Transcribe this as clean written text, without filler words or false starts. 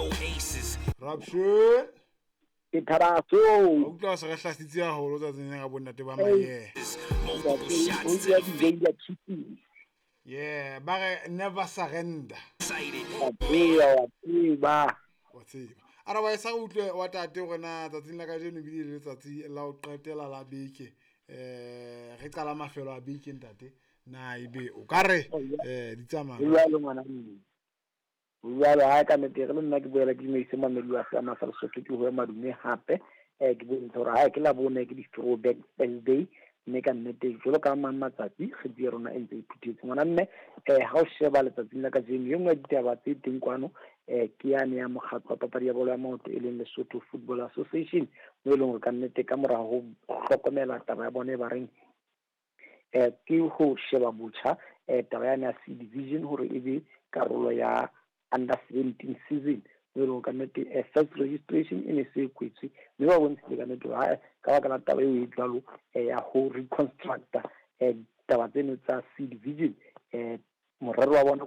No aces. Raption. Ke tharaso. O utlwa se re hlasitse haholo tsatsing lena ka bonnate ba maye. Multiple shots to the face. Yeah, ba re never surrender. Excited. Wa tseba, wa tseba. Wa tseba. Otherwise ha re utlwe wa tate hore na tsatsing la kajeno ebile le letsatsi la ho qetela la beke. Re qala mafelo a beke ntate. Na ebe o ka re di tsamaya. Jwalo ngwana mme. Jwalo ha ka nnete re le nna ke boela ke dumedise mamedi wa seama sa Lesotho ke hoe madume hape. Ke bontshe hore ha ke la bone ke di-throwback Thursday mme ka nnete jwalo ka mang matsatsi kgwedi ya rona e ntse e phuthetse ngwana mme. Ha o sheba letsatsing la kajeno e nngwe ya ditaba tse teng kwano ke yane ya mokgatlo wa papadi ya bolo ya maoto e leng Lesotho Football Association, mo e leng hore ka nnete ka mora ho hlokomela taba ya bone ba reng ke ho sheba botjha taba yane ya C division hore e be karolo ya under 17 season, mo e leng hore ka nnete first registration e ne se e kwetswe mme ba bontshitse ka nnete hore ka baka la taba eo e jwalo ya ho reconstructa taba tseno tsa C division, morero wa bona